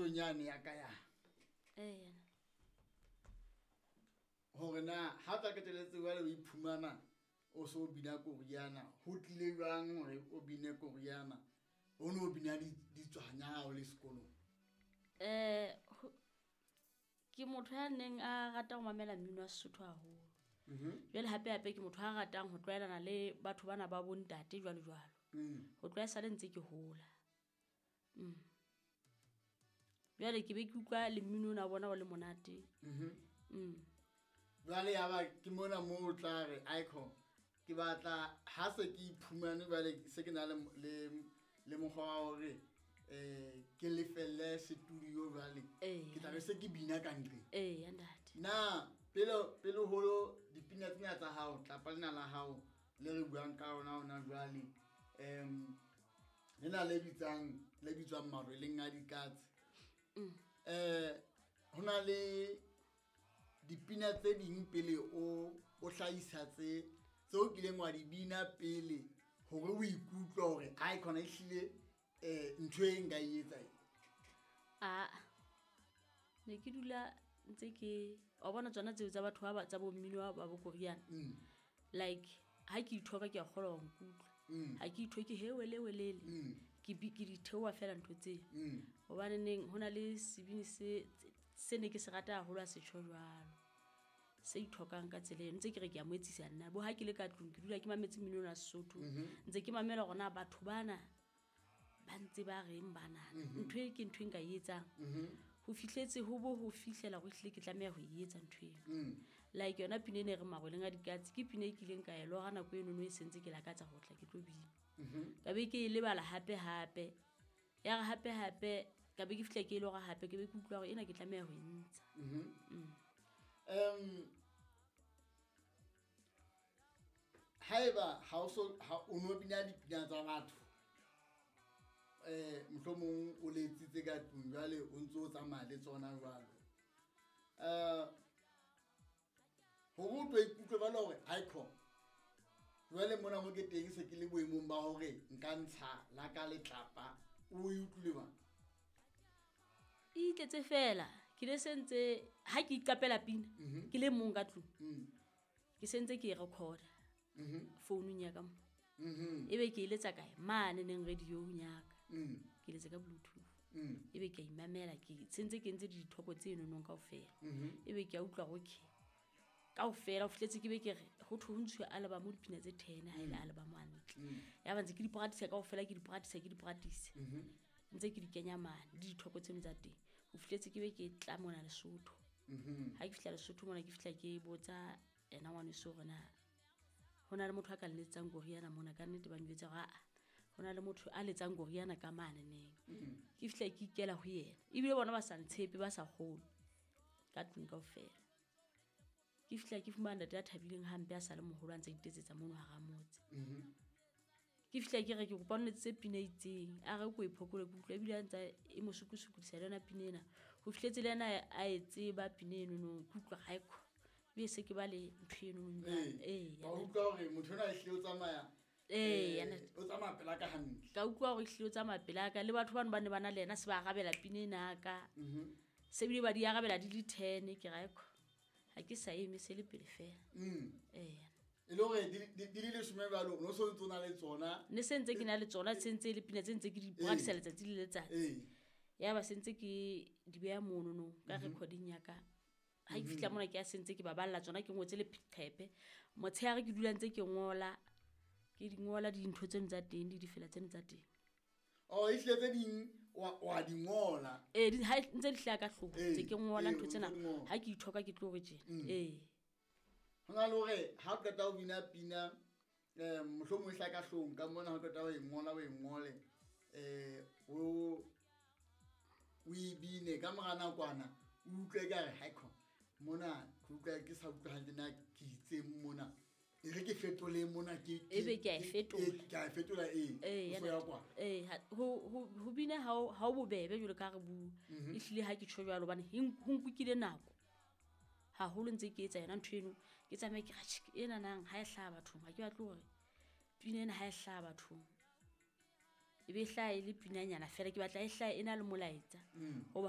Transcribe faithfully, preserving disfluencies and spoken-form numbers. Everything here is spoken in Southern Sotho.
Nthong yane ya ka ya Ee. Hore na ha tla qetelletse jwale o iphumana o so bina koriana, ho tlile jwang hore o bine koriana? O no bina ditswanya ha o le sekolong? Eh, ke motho ya neng a rata ho mamela mmino wa Sesotho haholo. Jwale hape hape ke motho a ratang ho tlwaelana le batho bana ba bo ntate jwalo jwalo. Ho tloha esale ntse ke hola. Mm. Jwale ke be ke utlwa le mmino ona wa bona o le monate. Mm. Jwale ya ba ke mona moo o tla re aikho ke batla ha se ke iphumane jwale se ke na le le le mokgwa wa hore eh ke lefelle studio jwale ke tla be se ke bina ka ntle. Eh ntate. Na pele pele holo dipina tsena tsa hao tlapa lena la hao le re buang ka ona ona jwale em lena le bitsang le bitswang Marweleng a Dikatse. Eh hona le dipina tse ding pele o o hlahisa tse tseo kileng wa di bina pele hore o ikutlwe hore ai khona ehlile eh ntho e nka e etsa e. Ah, ne ke dula ntse ke wa bona tsona tseo tsa batho ba tsa bo mmino ba bo Korean. Mm. Like ha ke ithoka ke a kgolwa ho nkutlwa. Ha ke ithoke he wele welele. Ke bi ke di theoha fela ntho tse. Hobane neng hona le sebini se se ne ke se rata haholo a se tjho jwalo. Se ithokang ka tsela eno ntse ke re ke a mo etsisa nna. Bo ha ke le ka tlung ke dula ke mametse mmino wa Sesotho. Ntse ke mamela hore na batho bana ba ntse ba reng bana. Ntho e ke ntho e nka e etsang. Ho fihletse ho bo ho fihlela ho hlile ke tlameha ho e etsa ntho eno. Like yona pina ena e re Marweleng a Dikatse ke pina e kileng ka e lora nako eno no e sentse ke lakatsa ho tla ke tlo bina. Ka be ke e lebala hape hape. Ya re hape hape ka be ke fihla ke e lora hape ke be ke utlwa hore ena ke tlameha ho e ntsha. Um haeba ha o so ha o no bina dipina tsa batho eh mohlomong o letsitse ka tlung jwale o ntso o tsamaya le tsona jwalo eh hore o tlo ikutlwe ba le hore aikho jwale mona mo ke teng se ke le boemong ba hore nka ntsha la ka letlapa o e utlwile ba e itletse fela ke le sentse ha ke iqapela pina ke le mong ka tlung ke sentse ke e record founung ya ka mo. Ebe ke eletsa kae mane neng radio ya ka ke letse ka bluetooth ebe ke a imamela ke sentse ke ntse dithoko tse nonong kaofela ebe ke a utlwa hore okay kaofela ho fihletse ke be ke re ho thwe ho ntshuwe album dipina tse ten ha ile album hantle ya ba ntse ke di practice kaofela ke di practice ke di practice ntse ke di kenya mane le dithoko tseno tsa teng ho fihletse ke be ke tla mona Lesotho. Ha ke fihla Lesotho mona ke fihla ke botsa ena ngwaneso hore na hona le motho a ka letsang koriana mona ka nnete ba njwetsa hore a hona le motho a letsang koriana ka mane neng. Ke fihla ke ikela ho yena ebile bona ba sa ntshepe ba sa kgolwe ka tlung kaofela. Ke fihla ke fumana ntate a thabileng hampe a sa le moholo a ntse a itetsetsa mono hara motse. Ke fihla ke re ke kopa o nletsetse pina e itseng a re ko e phokole ke utlwa ebile a ntse e mo sukusukudisa le yona pina ena ho fihletse le yena a e tseba pina eno no ke utlwa ha ekho ebe se ke ba le ntho eno eh ba utlwa hore motho ona ehlile o tsamaya eh o tsamaya pela ka hantle ka utlwa hore ehlile o tsamaya pela ka le batho bano ba ne ba na le yena se ba arabela pina ena ka se bile ba di arabela di le ten ke ra ekho ha ke sa eme se le pele fela eh e le hore di le leshome jwalo no so ntse o na le tsona ne se ntse ke na le tsona se ntse le pina tse ntse ke di practice letsatsi le letsatsi ya ba se ntse ke di beha mono no ka recording ya ka ha ke fihla mona ke a sentse ke ba balla tsona ke ngotse le phepe motshehare ke dula ntse ke ngola ke di ngola dintho tseno tsa teng di difela tseno tsa teng oh ehlile tse ding wa wa di ngola eh di ha ntse di hlaya ka hlooho ntse ke ngola ntho tsena ha ke ithoka ke tlo re tjena eh hona le hore ha o qeta ho bina pina eh mohlomong e hlaya ka hloohong ka mona ha o qeta ho e ngola o e ngole eh o o e bine ka mora nakwana o utlwe ka re haikho mona ke utlwa ke sa utlwa hantle na ke itseng mona e re ke fetole mona ke ebe ke a e fetola ke a e fetola eh e ya kwa eh ho ho bina ha ha o bobebe jwalo ka re bua ehlile ha ke tjho jwalo hobane ho nkukile nako haholo ntse ke etsa yona ntho eno ke tsamaye ke re ena nang ha e hlaha bathong ha ke batle hore pina ena ha e hlaha bathong e be hlaha e le pinanyana fela ke batla e hlaha e na le molaetsa hoba